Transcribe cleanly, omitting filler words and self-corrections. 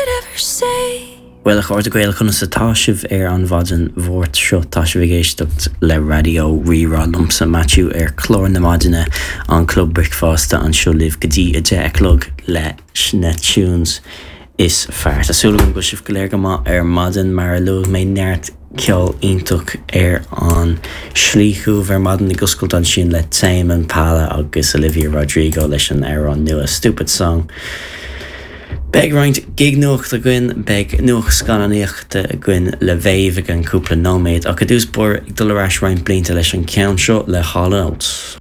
could ever say. Bhuel, a chairde Gael, conas atá sibh ar an mhaidin Mháirt seo? Tá sibh ag éisteacht le Raidió Rí-Rá liomsa, Maitiú, ar chlár na maidine, an Club Bricfeasta, anseo libh go dtí 10 a chlog leis na tunes is fearr. Tá súil agam go bhfuil sibh go léir go maith ar maidin, mar a luaigh mé, neart ceol iontach ar an slí chugaibh ar maidin, ag oscailt ansin le Tame Impala agus Olivia Rodrigo leis an amhrán nua Stupid Song. Beidh roinnt gig-nuacht againn, beidh nuacht scannánaíochta againn le Mhéabh i gceann cúpla nóiméad, ach i dtús báire ag dul ar ais roinnt blianta leis an ceann seo le Hall & Oates.